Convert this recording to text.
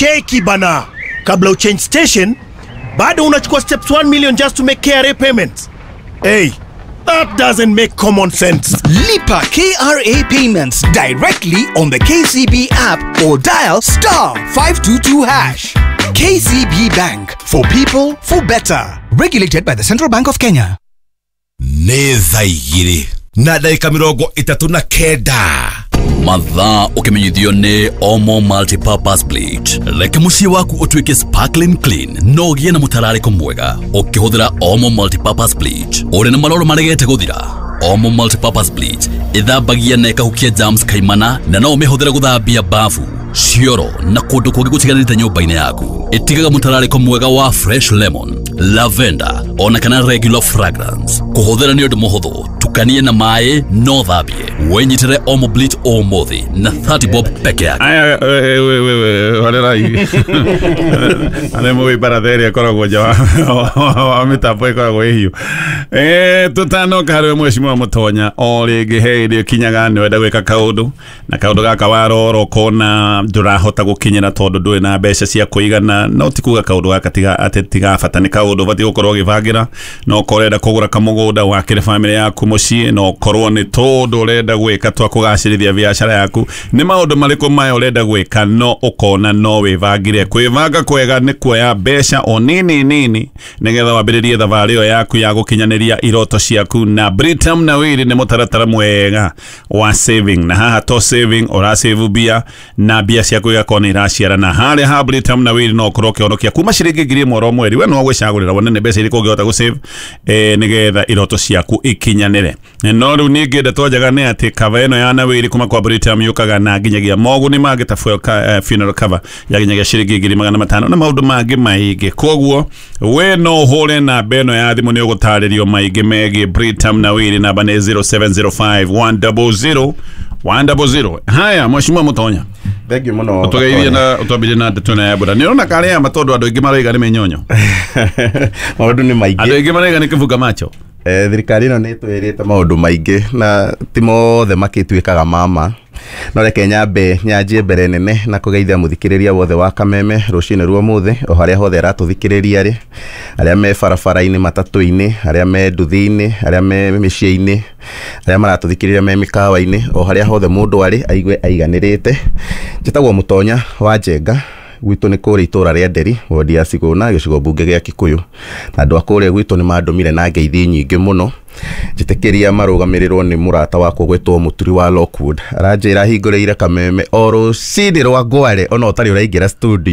Cheki bana, kabla uchange station bado unachukua steps 1 million just to make KRA payments. Hey, that doesn't make common sense. Lipa KRA payments directly on the KCB app or dial star 522 hash. KCB Bank for people for better. Regulated by the Central Bank of Kenya. Nĩ thaa 2:39. Mathaa ũkĩmenyithio nĩ Omo Multipurpose Bleach. Reke mũciĩ waku ũtuĩke sparkling clean na ũgĩe na mũtararĩko mwega ũkĩhũthĩra Omo Multipurpose Bleach. Ũrĩ na maroro maregete gũthira? Omo Multipurpose Bleach ĩthambagia na ĩkahukia germs kaimana na no ũmĩhũthĩre gũthambia bafu, cioro na kũndũ kũngĩ gũtiganĩte nyũmba-inĩ yaku. Ĩtigaga mũtararĩko mwega wa fresh lemon, lavender ona kana regular fragrance. Kũhũthĩra nĩ ũndũ mũhũthũ, tukanie na maĩ no thambie. Wĩnyitĩre Omo Bleach ũmũthĩ na 30 bob peke yake. Aya, horerai arĩa mũĩ baratha ĩrĩa ĩkoragwo nja wa mĩtambo ĩkoragwo ĩhiũ. Tũtanoka harĩ we mheshimiwa Mũtonya o rĩngĩ he hĩndĩ ĩkinyaga nĩ wenda gwĩka kaũndũ na kaũndũ gaka warora ũkona ndũrahota gũkinyĩra tondũ ndũrĩ na mbeca cia kũigana, no ti kuga kaũndũ gaka tiga atĩ tiga bata, nĩ kaũndũ ũbatiĩ gũkorwo ũgĩbangĩra. No ũkorwo ũrenda kũgũra kamũgũnda wakĩre bamĩrĩ yaku mũciĩ, no ũkorwo nĩ tũndũ ũrenda gwĩka twa kũgacĩrithia biacara yaku. Nĩ maũndũ marĩkũ maya ũrenda gwĩka no ũkona no wĩbangire? Kwĩbanga kwega nĩ kuoya mbeca o nini nini nĩgetha wambĩrĩrie thabarĩ ĩyo yaku ya gũkinyanĩria iroto ciaku, na Britam Nawiri nĩ mũtaratara mwega wa saving, na haha to saving ũrasave mbia na mbia ciaku igakorwo nĩ iraciarana. Harĩa ha Britam Nawiri no ũkorwo ũkĩhonokia kuma ciringi 1,000 oro mweri, we no gwĩcagũrĩra wone nĩ mbeca irĩkũ ũngĩhota gũsave nĩgetha iroto ciaku ikinyanĩre. No rĩu ningĩ ndeto njega nĩ atĩ cover ĩno ya Nawiri kuma kwa Britam yũkaga na nginyagia moguni mangĩ ta funeral cover ya nginyagia ciringi 500,000 na maũndũ mangĩ maingĩ. Koguo we no ũhũre namba ĩno ya thimũ nĩ ũgũtarĩrio maingĩ megiĩ Britam Nawiri, namba nĩ 0705 100 100. Haya, mheshimiwa Mũtonya, Thank you mũno. ũtũgeithie na ũtwambĩrie na ndeto ĩno ya mbura. Nĩ ũrona karĩa ma tondũ andũ aingĩ maraiga nĩ mĩnyonyo, Maũndũ nĩ maingĩ, andũ aingĩ maraiga nĩ kĩbunga macho. Thirikari ĩno nĩ ĩtwĩrĩte maũndũ maingĩ na ti mothe makĩtuĩkaga mama, no reke nyambe nyanjie mbere nene na kũgeithia mũthikĩrĩria wothe wa Kameme rũcinĩ rwa ũmũthĩ o harĩa hothe aratũthikĩrĩria rĩ, arĩa me barabara-inĩ, matatũ-inĩ, arĩa me nduthi-inĩ, arĩa me mĩciĩ-inĩ, arĩa maratũthikĩrĩria me mĩkawa-inĩ, o harĩa hothe mũndũ arĩ aigue aiganĩrĩte. Njĩtagwo Mũtonya wa Njenga, gwitũ nĩ kũrĩa itũra rĩa Nderi, wodi ya Cigũna, gĩcigo mbunge gĩa Kikuyu, na andũ a kũrĩa gwitũ nĩ mandũmire na ngeithi nyingĩ mũno. Njĩtĩkĩria marũgamĩrĩrwo nĩ mũrata wakwa gwĩtwo Mũturi wa Lockwood, aranjĩra hingũrĩire Kameme o rũcinĩ rwa ngware ona ũtarĩ ũraingĩra studio.